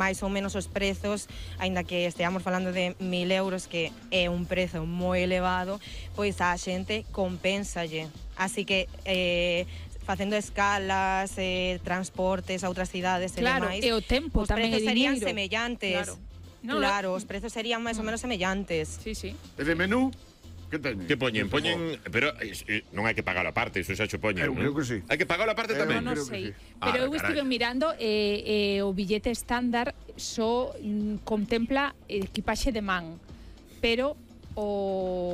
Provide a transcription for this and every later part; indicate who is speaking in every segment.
Speaker 1: máis ou menos os prezos, aínda que esteamos falando de 1.000 euros, que é un prezo moi elevado, pois a xente compénsalle. Así que facendo escalas, transportes a outras cidades e demais,
Speaker 2: e o tempo tamén é
Speaker 1: prezos serían
Speaker 2: diñeiro.
Speaker 1: semellantes. Claro, os prezos serían máis ou menos semellantes.
Speaker 2: Sí, sí.
Speaker 3: E de menú? Que teñen?
Speaker 4: Que poñen? Pero non hai que pagalo aparte, iso xa xo poñen.
Speaker 3: Eu creo que sí.
Speaker 4: Hai que pagalo aparte tamén.
Speaker 2: Non
Speaker 3: creo que
Speaker 2: sei.
Speaker 3: sí.
Speaker 2: Pero eu estive mirando o billete estándar só contempla equipaxe de man. Pero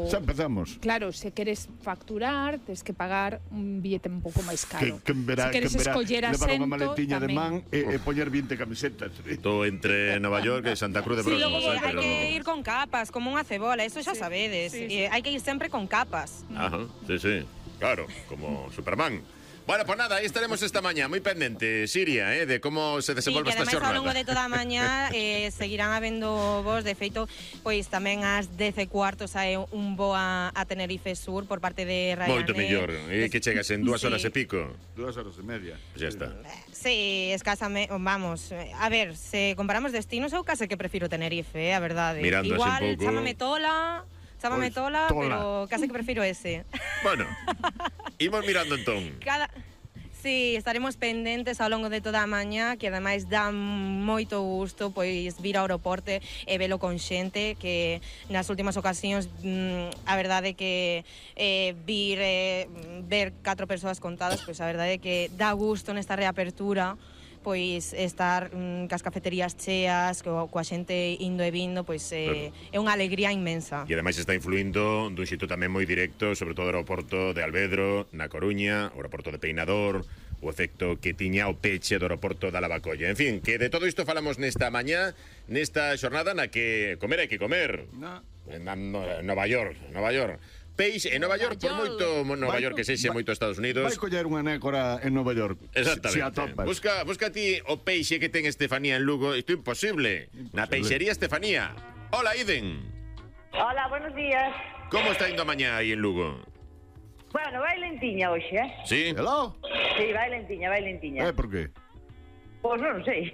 Speaker 3: Xa empezamos.
Speaker 2: claro, se queres facturar, tens que pagar un billete un pouco máis caro.
Speaker 3: Que verá,
Speaker 2: se queres escoller
Speaker 3: levar
Speaker 2: asento,
Speaker 3: unha maletiña de
Speaker 2: tamén.
Speaker 3: man e poñer 20 camisetas.
Speaker 4: Estou entre Nova York e Santa Cruz de
Speaker 1: Sí,
Speaker 4: Brosmos.
Speaker 1: hai que ir con capas, como unha cebola, eso xa sabedes. Hai que ir sempre con capas.
Speaker 4: Ajá, sí. Claro, como Superman. Bueno, pues nada, aí estaremos esta mañá, moi pendente, Siria, de como se desenvolve esta
Speaker 1: que ademais ao longo
Speaker 4: xornada.
Speaker 1: de toda a mañá seguirán habendo voos. De feito, pois tamén ás 10:15 sae un voo a Tenerife Sur por parte de Ryanair.
Speaker 4: Moito mellor, e que chegas en 2 horas
Speaker 1: Sí.
Speaker 4: e pico.
Speaker 3: 2 horas e media.
Speaker 4: Pues ya está.
Speaker 1: Sí, escasamente, vamos, a ver, se comparamos destinos, eu case que prefiro Tenerife, a verdade.
Speaker 4: Mirando así
Speaker 1: Igual,
Speaker 4: un pouco.
Speaker 1: chámame Tola,
Speaker 3: Tola.
Speaker 1: pero case que prefiro ese.
Speaker 4: Bueno, imos mirando entón.
Speaker 1: Sí, estaremos pendentes ao longo de toda a mañá, que ademais dá moito gusto pois vir ao aeroporto e velo con xente, que nas últimas ocasións a verdade que ver 4 persoas contadas, pois a verdade que dá gusto nesta reapertura, pois estar cas cafeterías cheas, coa xente indo e vindo, pois é unha alegría inmensa.
Speaker 4: E ademais está influindo dun xito tamén moi directo, sobre todo o aeroporto de Alvedro, na Coruña, o aeroporto de Peinador, o efecto que tiña o peche do aeroporto da Lavacolla. En fin, que de todo isto falamos nesta mañá, nesta xornada na que comer hai que comer. En Nova York. Peixe en Nova York, por moito Nova York que sexe moito Estados Unidos.
Speaker 3: Vai coller unha nécora en Nova York.
Speaker 4: Exactamente.
Speaker 3: Se atopas.
Speaker 4: Busca ti o peixe que ten Estefanía en Lugo. Isto é imposible. Na peixería Estefanía. Hola, Iden.
Speaker 5: Hola, buenos días.
Speaker 4: Como está indo a mañá aí en Lugo?
Speaker 5: Bueno, vai lentiña hoxe,
Speaker 4: Sí?
Speaker 3: Hello?
Speaker 5: Sí, vai lentiña.
Speaker 3: Por qué?
Speaker 5: Pois non sei.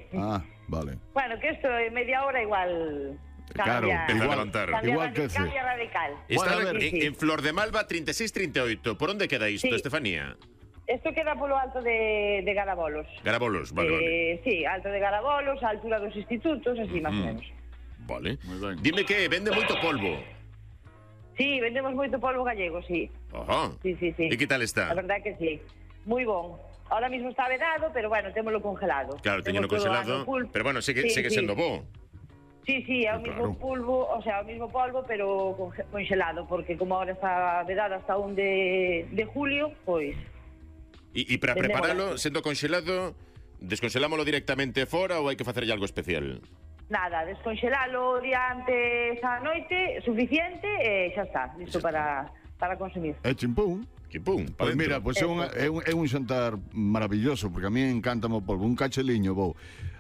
Speaker 3: Vale.
Speaker 5: Bueno, que isto en media hora igual
Speaker 3: Claro,
Speaker 5: cambia.
Speaker 4: Empieza a levantar.
Speaker 3: Igual que
Speaker 5: Cambia radical.
Speaker 4: Está
Speaker 3: Bueno, a ver.
Speaker 4: en Flor de Malva 36-38. Por onde queda isto,
Speaker 5: Sí.
Speaker 4: Estefanía?
Speaker 5: Isto queda polo alto de Garabolos.
Speaker 4: Garabolos, vale.
Speaker 5: Sí, alto de Garabolos, a altura dos institutos, así máis ou menos.
Speaker 4: Vale.
Speaker 3: Moi ben.
Speaker 4: Dime que vende moito polvo.
Speaker 5: Sí, vendemos moito polvo gallego, sí.
Speaker 4: Ajá.
Speaker 5: Sí.
Speaker 4: E que tal está?
Speaker 5: A verdade que sí. Moi bon. Ahora mismo está vedado, pero bueno, témolo congelado.
Speaker 4: Claro, teñeno
Speaker 5: Temos todo o
Speaker 4: congelado,
Speaker 5: ano full.
Speaker 4: pero bueno, segue sendo bo.
Speaker 5: Sí, é o mismo polvo, o sea, o mismo polvo, pero congelado, porque como ahora está vedado hasta 1 de julio, pois...
Speaker 4: E para preparalo, sendo congelado, descongelámolo directamente fora ou hai que facerlle algo especial?
Speaker 5: Nada, descongelalo o día antes á noite, suficiente, e xa está, listo para consumir.
Speaker 3: É chimpún.
Speaker 4: Que pum, pa
Speaker 3: Pois mira,
Speaker 4: dentro.
Speaker 3: é un xantar maravilloso, porque a mí encántame o polvo, un cacheliño,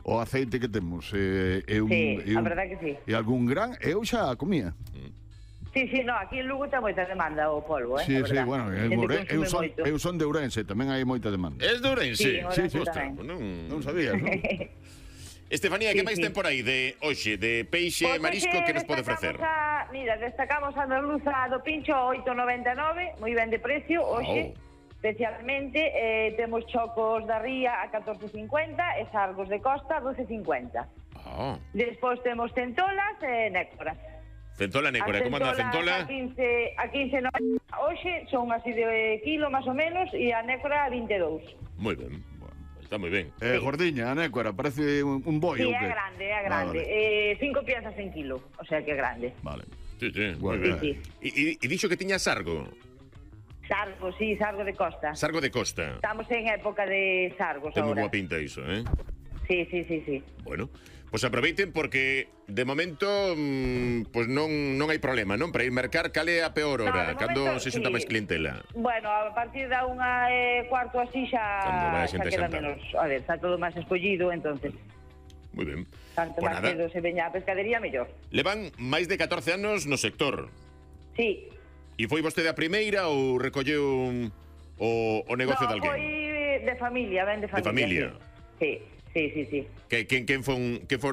Speaker 3: o aceite que temos,
Speaker 5: Sí, a verdade que sí.
Speaker 3: E algún gran, eu xa comía.
Speaker 5: Sí, no, aquí en Lugo ten moita demanda o polvo,
Speaker 3: Sí,
Speaker 5: a verdade.
Speaker 3: bueno,
Speaker 5: Xente consume moito.
Speaker 3: eu son de Ourense, tamén hai moita demanda.
Speaker 4: Es de Ourense?
Speaker 5: Sí, en Ourense
Speaker 4: Ostras,
Speaker 5: tamén.
Speaker 3: Non sabías, non?
Speaker 4: Estefanía, que
Speaker 5: Sí,
Speaker 4: máis
Speaker 5: sí.
Speaker 4: ten por aí de hoxe, de peixe,
Speaker 5: Pois
Speaker 4: marisco,
Speaker 5: hoxe
Speaker 4: que nos pode ofrecer?
Speaker 5: Destacamos a merluza do pincho 8,99, moi ben de precio, hoxe. Especialmente temos chocos da ría a 14,50 e sargos de costa a 12,50. Despois temos centolas e nécoras.
Speaker 4: Centola, nécora, como anda a centola?
Speaker 5: A 15,90 hoxe, son así de kilo máis ou menos, e a nécora a 22.
Speaker 4: Moi ben, está moi ben.
Speaker 3: Gordiña, a nécora, parece un boi.
Speaker 5: Sí,
Speaker 3: ou
Speaker 5: é
Speaker 3: que?
Speaker 5: grande. 5 piezas en kilo, o sea que é grande.
Speaker 3: Vale.
Speaker 4: Sí, moi
Speaker 3: Bueno,
Speaker 4: ben. E dixo que tiña sargo?
Speaker 5: Sargo, sí, sargo de costa.
Speaker 4: Sargo de costa.
Speaker 5: Estamos en época de sargos
Speaker 4: Ten moi
Speaker 5: agora.
Speaker 4: boa pinta iso, eh?
Speaker 5: Sí.
Speaker 4: Bueno, pues aproveiten porque de momento pues non hai problema, non? Para ir mercar, cale a peor hora,
Speaker 5: de
Speaker 4: cando
Speaker 5: momento,
Speaker 4: se xunta
Speaker 5: sí.
Speaker 4: máis clientela.
Speaker 5: Bueno, a partir da 1:15 así
Speaker 4: Cando vai a
Speaker 5: xa
Speaker 4: xente
Speaker 5: queda
Speaker 4: xantar.
Speaker 5: menos. A ver, está todo máis escollido, entonces
Speaker 4: Moi ben.
Speaker 5: tanto
Speaker 4: Pues
Speaker 5: máis
Speaker 4: nada.
Speaker 5: cedo se veña a pescadería, mellor.
Speaker 4: Levan máis de 14 anos no sector.
Speaker 5: Sí.
Speaker 4: E foi vostede a primeira ou recolleu o negocio de
Speaker 5: No,
Speaker 4: alguén?
Speaker 5: foi de familia, ben de familia.
Speaker 4: familia.
Speaker 5: Sí.
Speaker 4: Que quen